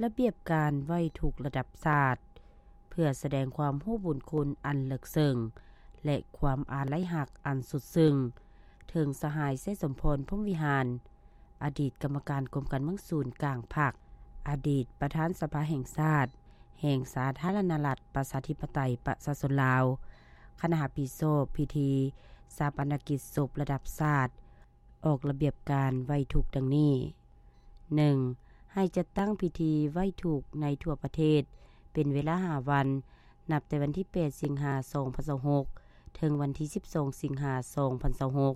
ລະບຽບການໄຫວ້ທຸກລະດັບຊາດ ເພື່ອສະແດງຄວາມຮູ້ບຸນຄຸນອັນເລິກເຊິ່ງ ແລະ ຄວາມອາໄລຮັກອັນສຸດຊຶ້ງ ເຖິງສະຫາຍ ໄຊສົມພອນ ພົມວິຫານ, ອະດີດກຳມະການກົມການເມືອງສູນກາງພັກ, ອະດີດປະທານສະພາແຫ່ງຊາດ ແຫ່ງສາທາລະນະລັດ ປະຊາທິປະໄຕ ປະຊາຊົນລາວ, ຄະນະຮັບຜິດຊອບພິທີຊາປະນະກິດສົບລະດັບຊາດ ອອກລະບຽບການໄຫວ້ທຸກດັ່ງນີ້: ໜຶ່ງ ໃຫ້ຈັດຕັ້ງພິທີໄຫວ້ທຸກໃນທົ່ວປະເທດ ເປັນເວລາຫ້າວັນ, ນັບແຕ່ວັນທີແປດ ສິງຫາ ສອງພັນຊາວຫົກ ເຖິງວັນທີສິບສອງ ສິງຫາ ສອງພັນຊາວຫົກ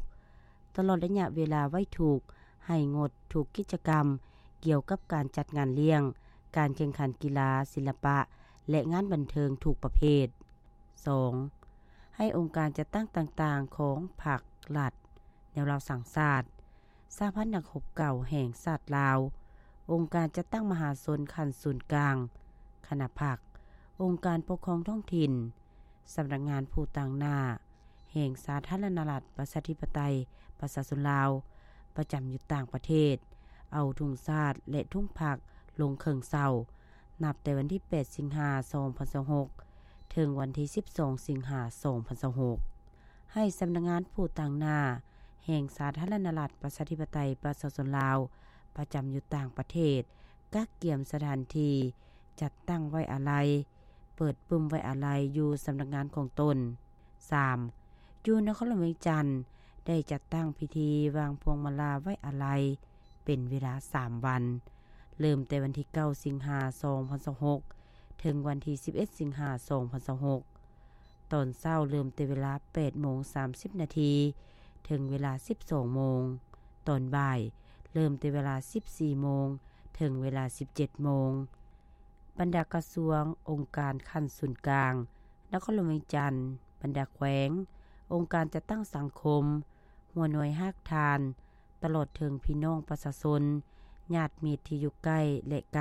ຕະຫຼອດໄລຍະເວລາໄຫວ້ທຸກ ໃຫ້ງົດທຸກກິດຈະກຳກ່ຽວກັບການຈັດງານລ້ຽງ, ການແຂ່ງຂັນກິລາ, ສິລະປະ ແລະ ງານບັນເທີງທຸກປະເພດ. ສອງ ໃຫ້ອົງການຈັດຕັ້ງຕ່າງໆຂອງພັກ, ລັດ, ແນວລາວສ້າງຊາດ, ສະຫະພັນນັກຮົບເກົ່າແຫ່ງຊາດລາວ, ອົງການຈັດຕັ້ງມະຫາຊົນຂັ້ນສູນກາງ, ຄະນະພັກ, ອົງການປົກຄອງທ້ອງຖິ່ນ, ສຳນັກງານຜູ້ຕາງໜ້າແຫ່ງສາທາລະນະລັດ ປະຊາທິປະໄຕ ປະຊາຊົນລາວ ປະຈຳຢູ່ຕ່າງປະເທດ ເອົາທຸງຊາດ ແລະ ທຸງພັກລົງເຄິ່ງເຊົາ ນັບແຕ່ວັນທີແປດ ສິງຫາ ສອງພັນຊາວຫົກ ເຖິງວັນທີສິບສອງ ສິງຫາ ສອງພັນຊາວຫົກ. ໃຫ້ສຳນັກງານຜູ້ຕາງໜ້າແຫ່ງສາທາລະນະລັດ ປະຊາທິປະໄຕ ປະຊາຊົນລາວ ປະຈຳຢູ່ຕ່າງປະເທດ ກະກຽມສະຖານທີ່ຈັດຕັ້ງໄວ້ອາໄລ, ເປີດປຶ້ມໄວ້ອາໄລຢູ່ສຳນັກງານຂອງຕົນ. ສາມ ຢູ່ນະຄອນຫຼວງວຽງຈັນ ໄດ້ຈັດຕັ້ງພິທີວາງພວງມາລາໄວ້ອາໄລ ເປັນເວລາສາມວັນ, ເລີ່ມແຕ່ວັນທີເກົ້າ ສິງຫາ ສອງພັນຊາວຫົກ ເຖິງວັນທີສິບເອັດ ສິງຫາ ສອງພັນຊາວຫົກ. ຕອນເຊົ້າເລີ່ມແຕ່ເວລາແປດໂມງສາມສິບນາທີ ເຖິງເວລາສິບສອງໂມງ. ຕອນບ່າຍເລີ່ມແຕ່ເວລາສິບສີ່ໂມງ ເຖິງເວລາສິບເຈັດໂມງ. ບັນດາກະຊວງ, ອົງການຂັ້ນສູນກາງ, ນະຄອນຫຼວງວຽງຈັນ, ບັນດາແຂວງ, ອົງການຈັດຕັ້ງສັງຄົມ, ຫົວໜ່ວຍຮາກຖານ, ຕະຫຼອດເຖິງພີ່ນ້ອງປະຊາຊົນ, ຍາດມິດທີ່ຢູ່ໃກ້ ແລະ ໄກ,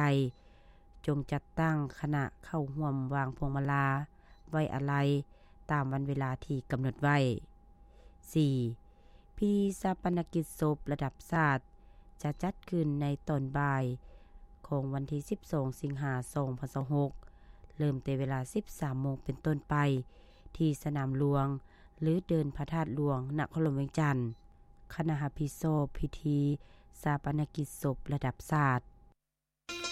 ຈົ່ງຈັດຕັ້ງຄະນະເຂົ້າຮ່ວມວາງພວງມາລາໄວ້ອາໄລຕາມວັນເວລາທີ່ກຳນົດໄວ້. ສີ່ ພິທີຊາປະນະກິດສົບລະດັບຊາດ ຈະຈັດຂຶ້ນໃນຕອນບ່າຍຂອງວັນທີສິບສອງ ສິງຫາ ສອງພັນຊາວຫົກ ເລີ່ມແຕ່ເວລາສິບສາມໂມງເປັນຕົ້ນໄປ ທີ່ສະໜາມຫຼວງ ຫຼື ເດີ່ນພະທາດຫຼວງ ນະຄອນຫຼວງວຽງຈັນ. ຄະນະຮັບຜິດຊອບພິທີຊາປະນະກິດສົບລະດັບຊາດ